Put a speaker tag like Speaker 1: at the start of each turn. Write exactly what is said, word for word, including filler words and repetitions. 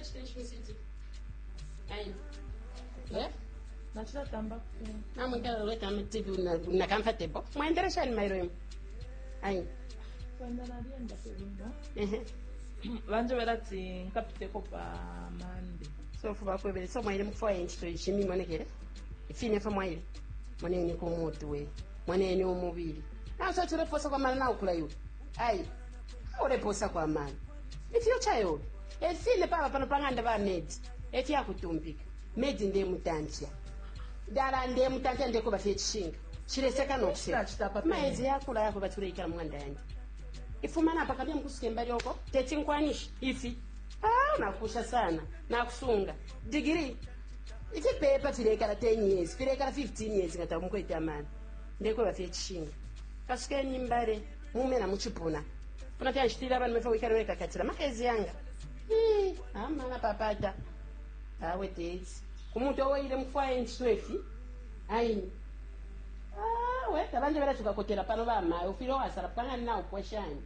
Speaker 1: Ulecita nshi mu city? Ayi. Eh?
Speaker 2: Nacilatamba ku
Speaker 1: Namwikala uletamba T V na, na comfortable. Mwaendele shani mailo imwe? Ayi.
Speaker 2: Kwenda nalienda pe bwino.
Speaker 1: Ehe.
Speaker 2: Banjebela ati nkapiteko pa Monday.
Speaker 1: So fuba kwebele so mwaile mukufwaya incito ishimi monekele. Ifine fo mwaile. Moneni ku mutwe. Moneni umubili. Na so tuleposa kwa mala na ukula iwe. Ayi. Uleposa kwa mala. Ifyo yobe. Efine paba pano panganda ba maid. Efyakutumpika. Maid ndiye mutamfya. Dala ndiye mutamfya, ndekuba fye cishinka. Chileseka no kuseka.
Speaker 2: Nachita pa pene.
Speaker 1: Maezi yakula yako batuleikala mung'anda yandi. Ifuma napa kabia mkusuke mbali oko. Teti nkwanishi ifi. Ah, nakusha sana. Nakusunga. Degree. Ifipepa filekala ten years, filekala fifteen years nga tamukwete amani. Ndekweba fye cishinka. Kasukeni mbale mumena muchipuna. Puna fyanshitila abantu mefa wikale wekakatila makezi yanga. Hmm, amana papata. Awe tezi. Kumuntu owaile mufwaye ncito ifi. Ayi. Ah, we tabanje bela tukakotela pano bamayo ufile wasala pangani na upweshani.